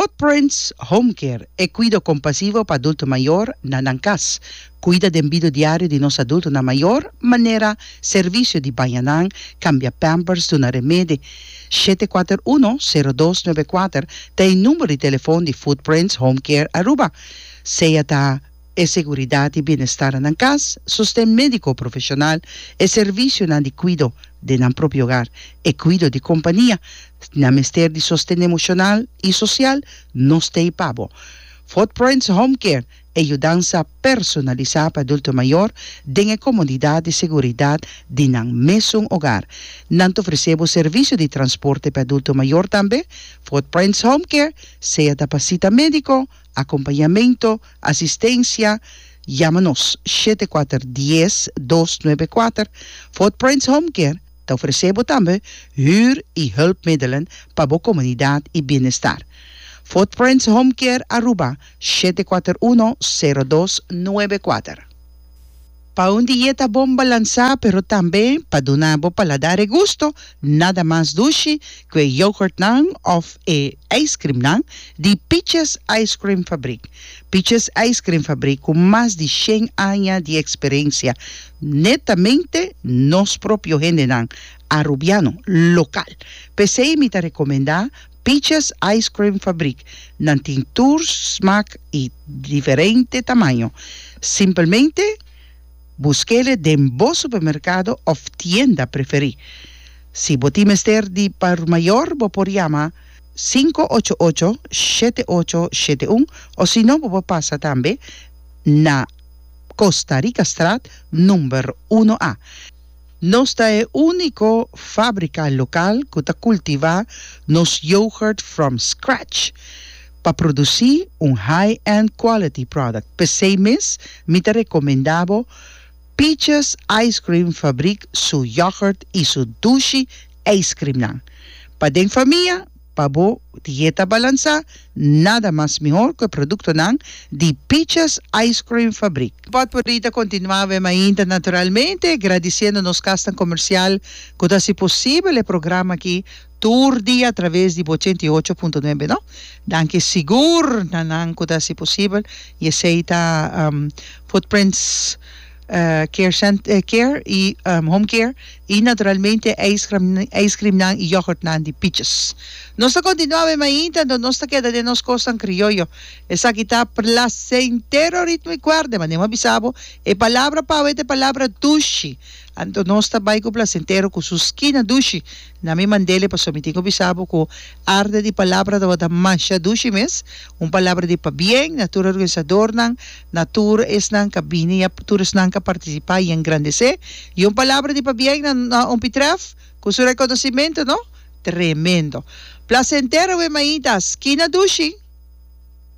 Footprints Home Care, e kuido kompasivo pa adulto mayor na nan kas. Kuida den bido diario di nos adultonan mayor, manera servisio di baña nan, kambia pampers, duna remedi. 741 0294 ta e number di telefon di Footprints Home Care Aruba. Sea ta e seguridat i bienestar na nan kas, sosten médiko profeshonal, e servisionan di kuido den nan propio hogar, e kuido di kompania. Nan mester di sosten emoshonal i sosial, nos t'ei pa bo. Footprints Home Care, e yudansa personalisá pa adulto mayor den e komodidat i seguridat di nan mesun hogar. Nan ta ofresé bo servisio di transporte pa adulto mayor tambe. Footprints Home Care, sea ta pa sita médiko, Acompañamento, asistencia, Yama nos, 74 10 294. Footprints Home Care ta ofrece bo tambe huur y hulpmiddelen pa bo comunidad y bienestar. Footprints Home Care Aruba, 741 0294. Pa un dieta bon balansá pero tambe pa duna bo paladar e gusto, nada mas dushi ku e yoghurtnan òf e ijskrimnan di Peaches Ice Cream Fabriek. Peaches Ice Cream Fabriek ku mas di shen aña di eksperensia, netamente nos propio hendenan Arubiano, lokal. P'esei mi ta rekomendá Peaches Ice Cream Fabriek. Nan tin tur smak y diferente tamaño. Simpelmente buskele den bo supermercado of tienda preferi. Si bo tin mester di por mayor bo por yama 588 7871 o si no bo por pasa tambe na Costa Ricastraat number uno A. Nos ta e úniko fábrika lokal ku ta kultivá nos yoghurt from scratch pa produsí un high-end quality product. P'esei mes mi ta rekomendá bo Peaches Ice Cream Fabriek su yoghurt i su dushi ijskrimnan. Pa den famia Pa bo dieta balansá, nada mas mihor ku e produktonan di Peaches Ice Cream Fabriek. Potpourri ta kontinuá awe mainta naturalmente, gradisiendo nos kasnan komersial ku ta hasi posibel e programa aki tur dia atraves di bo 88.9 no. Danki sigur na nan ku ta hasi posibel i esei ta Footprints. Care cent care y home care y naturalmente ijskrimnan y yoghurtnan di Peaches. Nos ta continua awe mainta anto nos ta keda den nos cosnan crioyo. Esaki ta placentero ritmo y cuerde. Manera mi a bisa bo e palabra pa awe ta e palabra dushi. Anto nos ta bay cu placentero cu su skina dushi. Na mi mandele pasobra mi tin cu bisa bo cu arte di palabra tabata masha dushi mes. Un palabra di pabien na tur organisadornan. Na tur esnan ka bini i a tur esnan ka partisipá i engrandesé. I un palabra di pabien na na Ompi Trèf ku su rekonosimentu, no? Tremendo. Plasentero we mainta, skina dushi!